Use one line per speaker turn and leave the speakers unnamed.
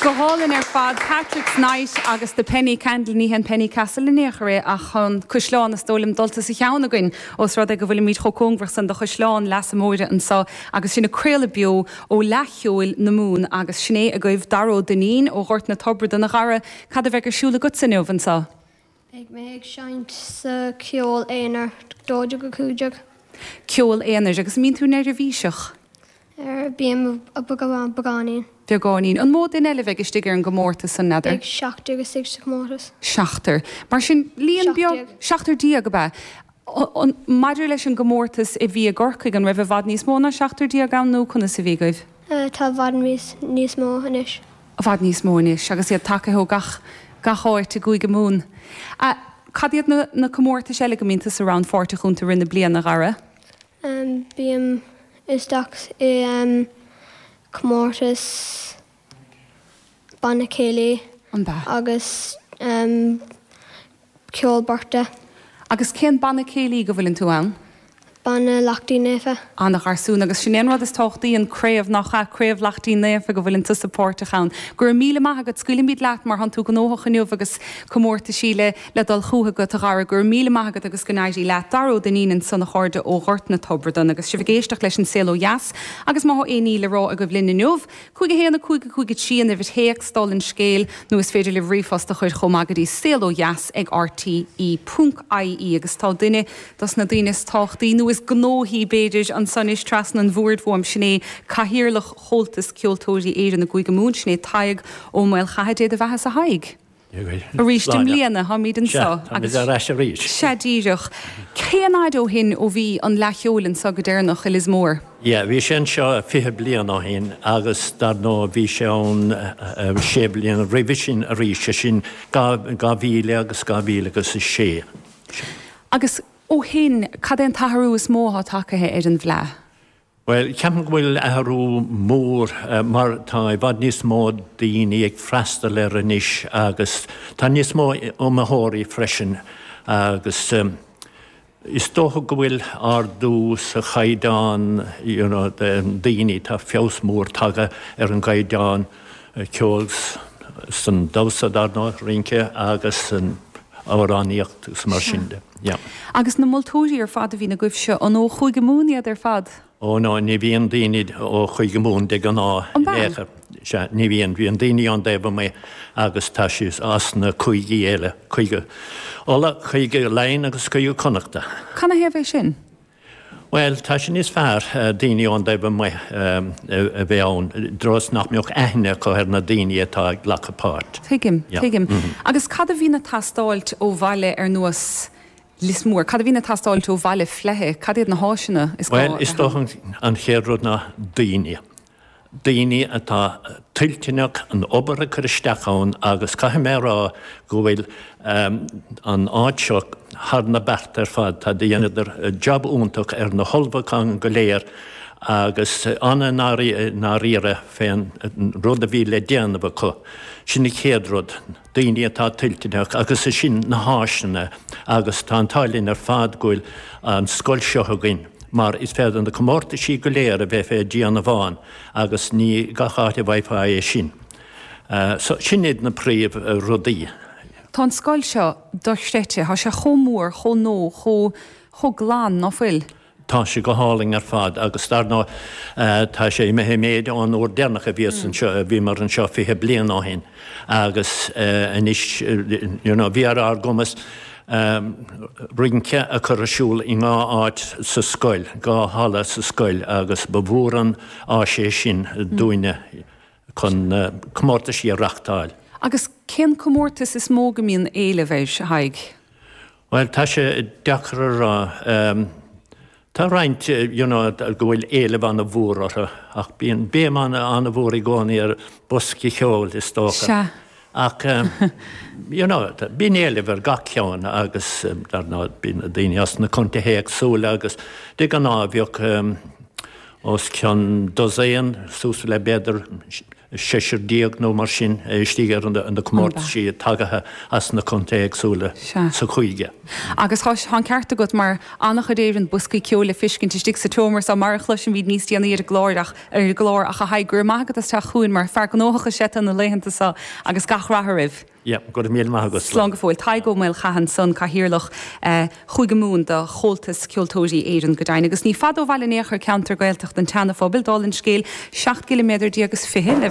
Go hálainn ar fad. Patrick's Night agus The Penny Candle. Ní hé an Penny Castle in aon chor é ach an caisleán is dóigh liom dulta sa cheann againn os rud é go bhfuilimid chomh cóngarach san do Chaisleán Leasa Móire anseo agus sinn ag craoladh beo ó Fhleadh Cheoil na Mumhan agus sin é agaibh Dara Ó Duinnín ó Ghort na Tobradan. A Dhara, cad a bheidh ar siúl agatsa inniu anseo?
Beidh mé ag seinnt sa cheol aonair, 12-15.
Ceol aonair. Agus an mbíonn tú neirbhíseach?
Er, bím beagáinín.
Beagáinín. An mó duine eile a bheidh istigh ar an gcomórtas san, n'fheadar?
Beidh seachtar istigh sa chomórtas.
Seachtar. Mar sin, líon beag. Seachtar déag, ab ea? Maidir leis an gcomórtas a bhí i gCorcaigh, an raibh i bhfad níos mó ná seachtar déag ann nó conas a bhí agaibh?
Tá i bhfad níos mó anois.
I bhfad níos mó anois agus iad tagaithe ó gach gach áit i gCúige Mumhan. Cad iad na na comórtais eile go mbíonn tusa rannpháirteach iontu i rith na bliana, a Dhara?
Bím isteach i comórtas banna céilí agus Ceol beirte.
Agus cén banna céilí go bhfuileann tú ann?
Banna Lachtaín Naofa.
Ana gharsún. Agus sin é an rud is tábhachtaí, an craobh, nach ea? Craobh Lachtaín Naofa go bhfuileann tusa páirteach ann. Go raibh míle maith agat. Scaoilfimid leat mar thánn tú gnóthach inniu agus comórtaisí le le dul chucu agat, a Dhara. Go raibh míle maith agat agus go n-éirí leat. Dara Ó Duinnín ansan a chairde ó Ghort na Tobradan agus sibh ag éisteacht leis an Saol Ó Dheas agus má thá aon ní le rá agaibh linn inniu, 5 1 5 5 3 an uimhir théacs, dála an scéil, nó is féidir libh ríomhphost a chur chomh maith go dtí saolodheas ag rte ponc ie agus tá duine dos na daoine is tábhachtaí, nó is gnóthaí b'fhéidir, anso anois trasna an bhoird uaim, sin é Cathaoirleach Chomhaltas Ceoltóirí Éireann i gCúige Mumhan, sin é Tadhg Ó Maolchatha. Dé do bheatha-sa a Thaidhg. Arís i mbliana, táimid anseo
agus. Táimid ar ais arís.
Sea, díreach. Cén fhaid ó shin ó bhí an Fhleadh Cheoil anseo go deireanach i Lios Mór?
Yeah, bhí sé anseo 20 bliain ó shin agus dar ndóigh bhí sé ann sé bliana roimhe sin arís, sé sin 2000 agus 2006.
Agus ó shin, cad é an t-athrú is mó atá tagtha ar an bhFleadh?
Bhuel, ceapaim go bhfuil athrú mór mar tá i bhfad níos mó daoine ag freastal air anois agus tá níos mó iomaitheoirí freisin agus is dócha go bhfuil ardú sa chaighdeán you know daoine, tá feabhas mór tagtha ar an gcaighdeán ceoil san damhsa dar ndóigh, rince agus san amhránaíocht agus mar sin de. Yeah.
Agus na moltóirí ar fad a bhíonn agaibhse, an ó Chúige Mumhan iad ar fad?
Ó no, ní bhíonn daoine ó Chúige Mumhan de ghnáth
An ea?
in aon chor. Sea, ní bhíonn. Bíonn daoine ón dtaobh amuigh agus tá siad as na cúigí eile, Cúige Uladh, Cúige Laighean agus Cúige Connachta.
Canathaobh é sin?
Bhuel, tá sé níos fearr daoine ón dtaobh amuigh a bheith ann, i dtreo is nach mbeadh aithne acu ar na daoine atá ag glacadh páirt.
Tuigim, tuigim. Agus cad a bhíonn ag teastáilt ó bhaile ar nós Lios Mór? Cad a bhíonn ag teastáilt ó bhaile fleidhe? Cad iad na háiseanna is
gá a bheith ann? Bhuel, is dócha an chéad rud ná daoine. daoine atá toilteanach an obair a chur isteach ann agus caithfidh mé a rá go bhfuil an áit seo thar na bearta ar fad. Tá dheineadar jab iontach ar na hullmhúcháin go léir agus an-i ndáiríre fén rud a bhí le déanamh acu. Sin an chéad rud. daoine atá toilteanach agus ansin na háiseanna agus tá an t-ádh linn ar fad go bhfuil an scoil seo againn mar is féidir na comórtaisí go léir a bheith fé déanamh ann agus ní gach áit a bhfaighfeá é sin. So sin iad na príomh rudaí.
Tá an scoil seo dochreidte, tá sé chomh mór, chomh nua, chomh, chomh glan, ná fuil?
Tá sé go hálainn ar fad agus dar ndóigh tá sé imithe i méid ón uair deireanach a bhíos anseo, a bhíomar anseo 20 bliain ó shin agus anois you know bhí ar ár gcumas rince a chur ar siúl i ndhá áit sa scoil, dhá halla sa scoil agus ba mhór an áis é sin dúinne chun comórtaisí a reachtáil.
Agus cén comórtas is mó go mbíonn éileamh air, a Thaidhg?
Bhuel, tá sé deacair a rá. Tá roinnt, you know, go bhfuil éileamh an-mhór orthu, ach bíonn béim an-mhór i gcónaí ar bosca ceoil, is dócha.
Sea.
Ach, you know, bíonn éileamh ar gach ceann agus, dar ndóigh, bíonn daoine as na contaetha éagsúla agus de ghnáth bheadh os cionn dosaen, suas le b'fhéidir. 16 nó mar sin istigh ar na comórtaisí tagaithe as na contaetha éagsúla sa chúige.
Agus tá an ceart agat mar an-chuid Éireann boscaí ceoil le fiscint istigh sa tseomra so mar a chloisfimid níos déanaí ar an gclár ach ar an gclár ach a Thaidhg go raibh maith agat as teacht chugainn mar fear gnóthach is ea tú na laethanta so agus gach rath oraibh.
Yeah, go raibh míle maith agat.
Slán go fóill. Tadhg Ó Maolchatha ansan, Cathaoirleach Chúige Mumhan do Chomhaltas Ceoltóirí Éireann go deimhin. Agus ní fada ó bhaile in aon chor ceantar Gaeltachta an tSeana-Phobail, dála an scéil, 17 gciliméadar is 20 le bheith.